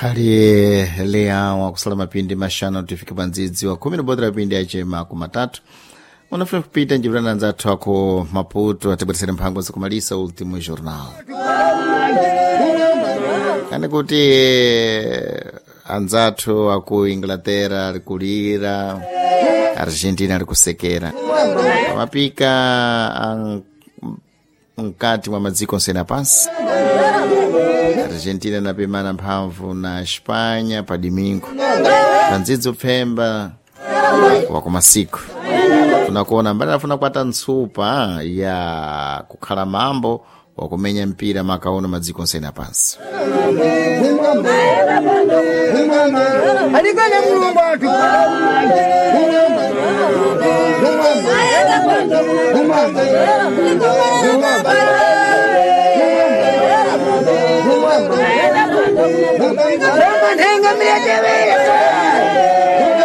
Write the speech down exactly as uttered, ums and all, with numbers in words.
Khali leawa kusala mapindi mashanu tifike pa ndzidzi wa khumi nibodera pindi achema kumatatu unafuna kupita njivulana anzathu ako Maputo atibweresere mphango zakumalisa Ultimo Jornal kani kuti anzathu aku Inglaterra ali kulira, Argentina ali kusekera pamapika an- mkati mwa madziko onsene pansi. Argentina inapimana mphamvu na Espanha pa domingo pa ndzidzi upfemba wakumasiku tunakuona mbali afuna kukwata ntsupa ya kukhala mambo wakumenya mpira makaono madziko onsene apansi. Alikana Mulungu atu. Rama nhenga miletewele.